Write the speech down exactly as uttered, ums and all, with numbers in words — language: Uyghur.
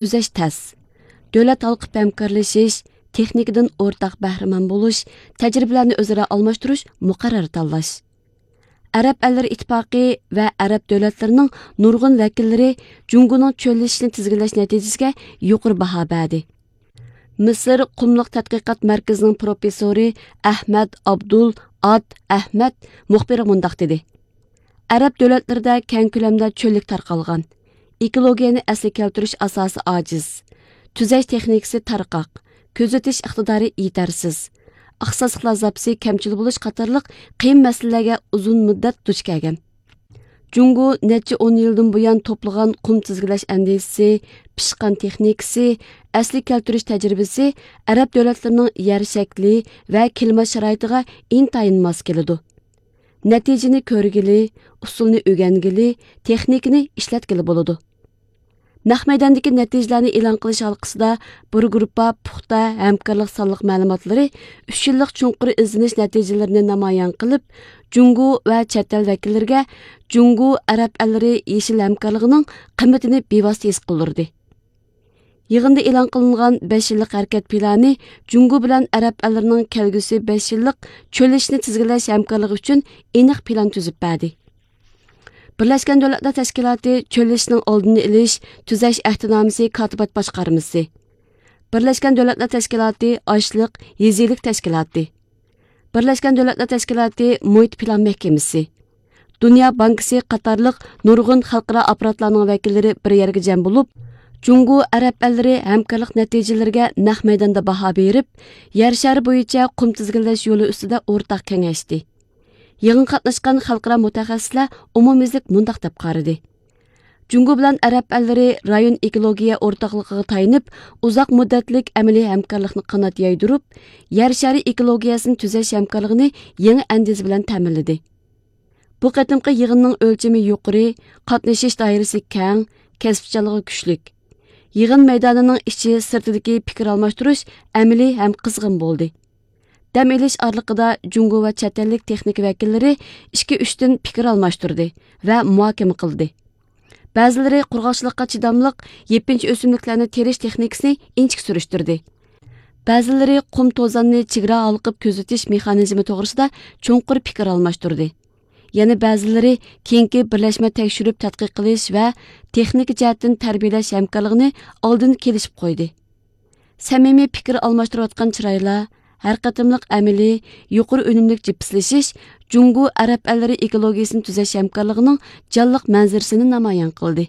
تۈزەش تەس. دۆلەت ھالقىپ ھەمكارلىشىش، تېخنىكىدىن ئورتاق بەھرىمەن بولۇش، تەجرىبىلەرنى ئۆزئارا ئالماشتۇرۇش، مۇقەررەر تاللاش. ئەرەب ئەللىرى ئىتتىپاقى ۋە ئەرەب دۆلەتلىرىنىڭ نۇرغۇن ۋەكىللىرى جۇڭگونىڭ چۆللىشىشنى تىزگىنلەش نەتىجىسىگە يۇقىرى باھا بەردى. مىسىر قۇملۇق تەتقىقات مەركىزىنىڭ پروفېسسورى ئەھمەد ئابدۇل ئاد ئەھمەد مۇخبىرغا مۇنداق دېدى: ئەرەب دۆلەتلىرىدە كەڭ كۆلەمدە چۆللۈك تارقالغان. ئېكولوگىيەنى ئەسلىگە كەلتۈرۈش ئاساسى ئاجىز. تۈزەش تېخنىكىسى تارقاق. كۆزىتىش ئىقتىدارى يېتەرسىز. ئىختىساسلىقلار زاپىسى كەمچىل بولۇش قاتارلىق قىيىن مەسىلىلەرگە ئۇزۇن مۇددەت دۇچ كەلگەن. جۇڭگو نەچچە ئون يىلدىن بۇيان توپلىغان قۇم تىزگىنلەش ئەندىزىسى، پىشقان تېخنىكىسى، ئەسلىگە كەلتۈرۈش تەجرىبىسى ئەرەب دۆلەتلىرىنىڭ يەر شەكلى ۋە كىلىمات شارائىتىغا ئىنتايىن ماس كېلىدۇ. نەتىجىنى كۆرگىلى، ئۇسۇلنى ئۆگەنگىلى، تېخنىكىنى ئىشلەتكىلى بولىدۇ. نەق مەيداندىكى نەتىجىلەرنى ئېلان قىلىش ھالقىسىدا بىر گۇرۇپپا پۇختا ھەمكارلىق سانلىق مەلۇماتلىرى ئۈچ يىللىق چوڭقۇر ئىزدىنىش نەتىجىلىرىنى نامايان قىلىپ، جۇڭگو ۋە چەت ئەل ۋەكىللىرىگە جۇڭگو ئەرەب ئەللىرى يېشىل ھەمكارلىقىنىڭ قىممىتىنى بىۋاسىتە ھېس قىلدۇردى. يىغىندا ئېلان قىلىنغان بەش يىللىق ھەرىكەت پىلانى جۇڭگو بىلەن ئەرەب ئەللىرىنىڭ كەلگۈسى بەش يىللىق چۆللىشىشنى تىزگىنلەش ھەمكارلىقى ئۈچۈن ئېنىق پىلان تۈزۈپ بەردى. بىرلەشكەن دۆلەتلەر تەشكىلاتى چۆللىشىشنىڭ ئالدىنى ئېلىش، تۈزەش ئەھدىنامىسى كاتىبات باشقارمىسى، بىرلەشكەن دۆلەتلەر تەشكىلاتى ئاشلىق يېزا ئىگىلىك تەشكىلاتى، بىرلەشكەن دۆلەتلەر تەشكىلاتى مۇھىت پىلان مەھكىمىسى، دۇنيا بانكىسى قاتارلىق نۇرغۇن خەلقئارا ئاپپاراتلارنىڭ ۋەكىللىرى بىر يەرگە جەم بولۇپ، جۇڭگو ئەرەب ئەللىرى ھەمكارلىق نەتىجىلىرىگە نەق مەيداندا باھا بېرىپ، يەر شارى بويىچە قۇم تىزگىنلەش يولى ئۈستىدە ئورتاق كېڭەشتى. يىغىنغا قاتناشقان خەلقئارا مۇتەخەسسىسلەر ئومۇميۈزلۈك مۇنداق دەپ قارىدى: جۇڭگو بىلەن ئەرەب ئەللىرى رايون ئېكولوگىيە ئورتاقلىقىغا تايىنىپ، ئۇزاق مۇددەتلىك ئەمەلىي ھەمكارلىقنى قانات يايدۇرۇپ، يەر شارى ئېكولوگىيەسىنى تۈزەش ھەمكارلىقىنى يېڭى ئەندىزە بىلەن تەمىنلىدى. بۇ قېتىمقى يىغىننىڭ ئۆلچىمى يۇقىرى، قاتنىشىش دائىرىسى كەڭ، كەسىپچانلىقى كۈچلۈك. يىغىن مەيدانىنىڭ ئىچى سىرتىدىكى پىكىر ئالماشتۇرۇش ئەمەلىي ھەم قىزغىن بولدى. دەم ئېلىش ئارىلىقىدا جۇڭگو ۋە چەت ئەللىك تېخنىكا ۋەكىللىرى ئىككى ئۈچتىن پىكىر ئالماشتۇردى ۋە مۇھاكىمە قىلدى. بەزىلىرى قۇرغاقچىلىققا چىداملىق يېپىنچا ئۆسۈملۈكلەرنى تېرىش تېخنىكىسىنى ئىنچىكە سۈرۈشتۈردى. بەزىلىرى قۇم توزاننى چېگرا ھالقىپ كۆزىتىش مېخانىزمى توغرىسىدا چوڭقۇر پىكىر ئالماشتۇردى. يەنە بەزىلىرى كېيىنكى بىرلەشمە تەكشۈرۈپ تەتقىق قىلىش ۋە تېخنىكا جەھەتتىن تەربىيەلەش ھەمكارلىقىنى ئالدىن كېلىشىپ قويدى. سەمىمىي پىكىر ئالماشتۇرۇۋاتقان چىرايلار، ھەر قېتىملىق ئەمەلىي، يۇقىرى ئۈنۈملۈك جىپسلىشىش جۇڭگو ئەرەب ئەللىرى ئېكولوگىيىسىنى تۈزەش ھەمكارلىقىنىڭ جانلىق مەنزىرىسىنى نامايان قىلدى.